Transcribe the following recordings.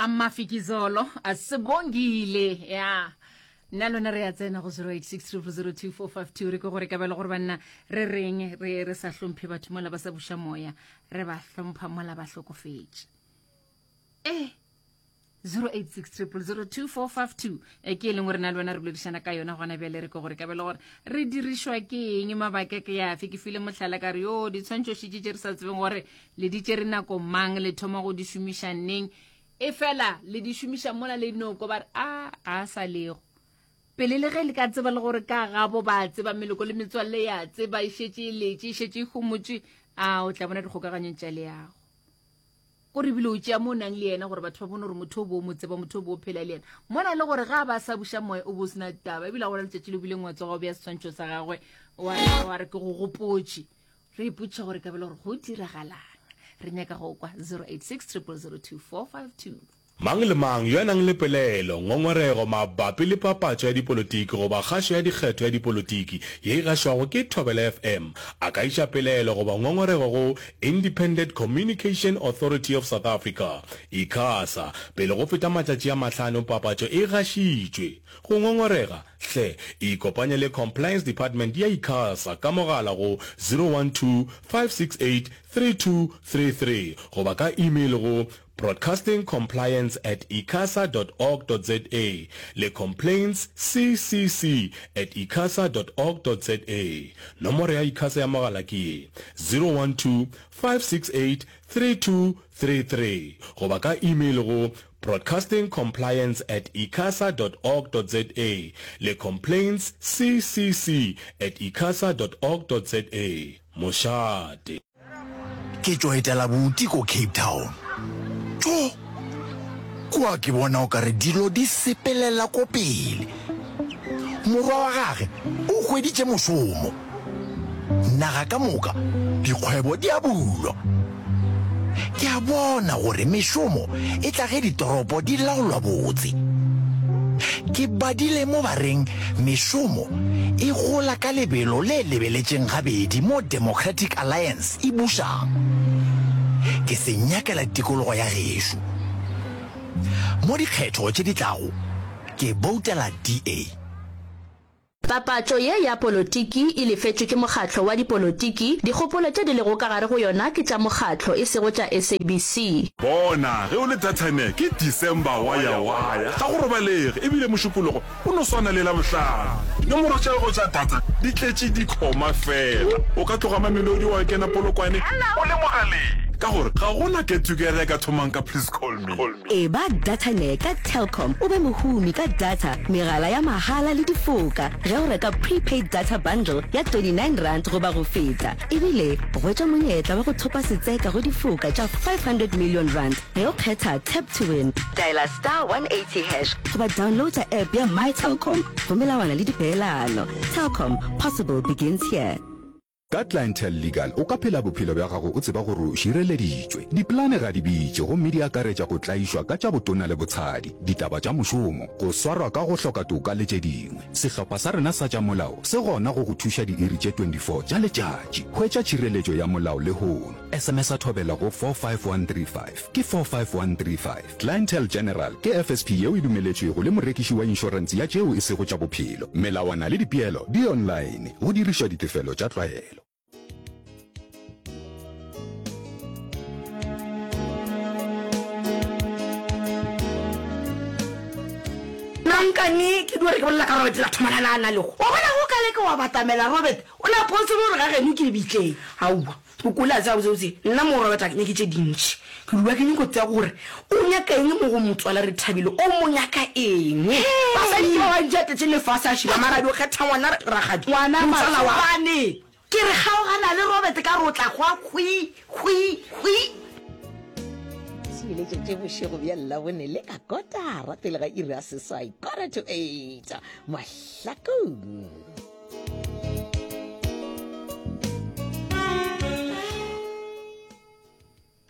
Mafikizolo a Sebongile ya nna lona re ya tsena go 0860002452 re ke gore ka bele gore banna re reng re re sa hlomphe batho mola ba sa buša moya re ba hlompha mola ba hlokofetše eh 0860002452 e ke e leng gore na le wena re boledišana ka yona gona bjale re ke gore ka bele gore re dirišwa ke eng mabaka ke yafe ke file mohlala ka re yo ditshwantšho šitše tše re sa tsebeng gore le di tšere nako mang le thoma go di šomiša neng e fela le di šomiša mola le noko ba re a ga a sa lego pele le ge le ka tseba le gore ka gabo ba tseba meloko le metswalle ya tseba e šetše e letše e šetše e homotše a o tla bona dikgokaganyong tša leago ko re bile o tšea mo o nang le yena gore batho ba bone gore motho o bo o mo tseba motho o bo o phela le yena mona le gore ga a ba sa buša moya o bo o sena taba ebile a gona letšatši le bileng wa tsoga o bea setshwantšho sa gagwe wa re ke go gopotše re ipotšiša gore ka bele gore go diragalang re nyaka go kwa 086 0002452 Mang le mang yo a nang le pelaelo, ngongorego mabapi le papatšo ya dipolotiki goba kgašo ya dikgetho ya dipolotiki ye e gašwago ke Thobela FM a ka iša pelaelo goba ngongorego go Independent Communication Authority of South Africa, ICASA, pele go feta matšatši a mahlano papatšo e gašitšwe. Go ngongorega, hle ikopanye le Compliance Department ya ICASA ka mogala go 012 568 3233 goba ka email go broadcastingcompliance at icasa dot org dot za le complaintsccc at icasa dot org dot za. Nomoro ya ICASA ya mogala ke ye, 012 568 3233 goba ka email go broadcastingcompliance at icasa dot org dot za le complaintsccc at icasa dot org dot za. Mošate. Ke tšo etela buti ko Cape Town. Tjo! Kua ke bona o kare dilo di sepelela ko pele. Morwa wa gage o hweditše mošomo. Naga ka moka dikgwebo di a bulwa. Ke a bona gore mešomo e tla ge ditoropo di laolwa botse. Ke badile mo ba reng mešomo e gola ka lebelo le lebeletšeng gabedi mo Democratic Alliance e bušang. Ke se nyakela tikologo ya gešo. Mo dikgetho tše di tlago ke boutela DA. Papatšo ye ya polotiki e lefetšwe ke mokgatlo wa dipolotiki, dikgopolo tše di lego ka gare go yona ke tša mokgatlo e sego tša SABC. Bona, ge o le Dathane, ke December waya-waya, ga go robalege, e bile Mošupologo o no swana le Labohlano. Dinomoro tša gago tša data di tletše dikhoma fela. O ka tloga Mamelodi wa kena Polokwane o le mogaleng, ka gore ga go na get-together e ka thomang ka please call me. Eba Dataner ka Telkom o be mohumi ka data, megala ya mahala le difoka ge o reka prepaid data bundle ya R29 goba go feta. Ebile hwetša monyetla wa go thopa setseka go difoka tša R500 million ge o kgetha Tap to Win. Dialer star 180 hash goba downloada app ya My Telkom go melawana le dipeelano. Telkom, possible begins here. Ka Clientele Legal o ka phela bophelo bja gago o tseba gore o šireleditšwe. Dipolane ga di bitše gomme di akaretša go tlaišwa ka tša botona le botshadi, ditaba tša mošomo, go swarwa ka go hloka toka le tše dingwe. Sehlopha sa rena sa tša molao se gona go go thuša diiri tše 24 tša letšatši. Hwetša tšhireletšo ya molao lehono. SMS-a Thobela go 45135. Ke 45135. Clientele General ke FSP yeo e dumeletšwego le morekiši wa inšorense ya tšeo e sego tša bophelo. Melawana le dipeelo di online, go dirišwa ditefelo tša tlwaelo. Nankane ke dio re ke bolela ka Robert la thoma la nana le go. Wa bona go ka leka wa batamela Robert o na potse gore ga geno ke lebitleng. Aowa. O kwele a tseba botsebotse nna mo Robert a ke nyake tše dintši. Ke dula ke nyako tseba gore o nyaka eng mo go motswala Rethabile, o mo nyaka eng. Basadi ke ba bantši a tletše lefase a šiba mara a dio kgetha ngwana rakgadi, Ngwana motswala wa. Matsobane. Ke re kgaogana le Robert ka re o tla hwa hwi, hwi, hwi. Theeletšo tše bošego bja Labone le ka kotara pele ga iri ya seswai, quarter to eight, Mahlakong.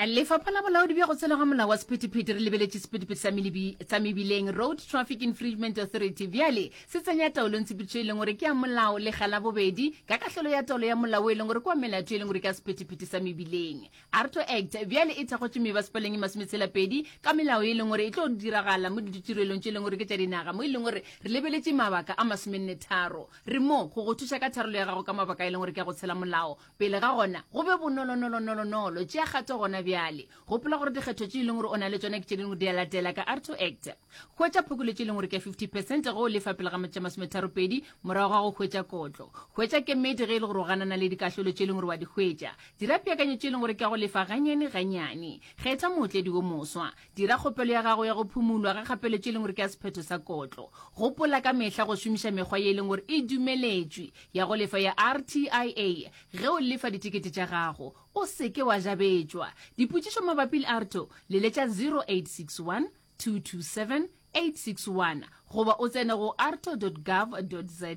Lefapha la Bolaodi bja go Tshela ga Molao wa Sephethephethe re lebeletše sephethephethe sa melebi sa mebileng Road Traffic Infringement Authority bjale se tsenya taolong tshepedišo e leng gore ke ya molao lekga la bobedi ka kahlolo ya taolo ya molao e leng gore ke wa melato e leng gore ke ya sephethephethe sa mebileng. ARTO Act bjale e thakgotše mebasepaleng e masometshela-pedi ka melao e leng gore e tlo diragala mo ditirelong tše e leng gore ke tša dinaga mo e leng gore re lebeletše mabaka a masomenne-tharo. Re mo go go thuša ka tharollo ya gago ka mabaka e leng gore ke ya go tshela molao. Pele ga gona, go be bonolonolonolonolo. Tšea kgato gona bjale. Gopola gore dikgetho tše e leng gore o na le tšona ke tše dingwe di a latela ka ARTO Act. Hwetša phokoletšo e leng gore ke ya 50 percent ge o lefa pele ga matšatši a masometharopedi morago ga go hwetša kotlo. Hwetša kemedi ge e le gore o ganana le dikahlolo tše e leng gore wa di hwetša. Dira peakanyetšo e leng gore ke ya go lefa ganyane ganyane. Kgetha mootledi wo moswa. Dira kgopelo ya gago ya go phumulwa ga kgapeletšo e leng gore ke ya sephetho sa kotlo. Gopola ka mehla go šomiša mekgwa ye e leng gore e dumeletšwe ya go lefa ya RTIA ge o lefa ditekete tša gago. O se ke wa jabetšwa. Dipotšišo mabapi le ARTO, leletša 0861 227 861 goba o tsene go arto.gov.za.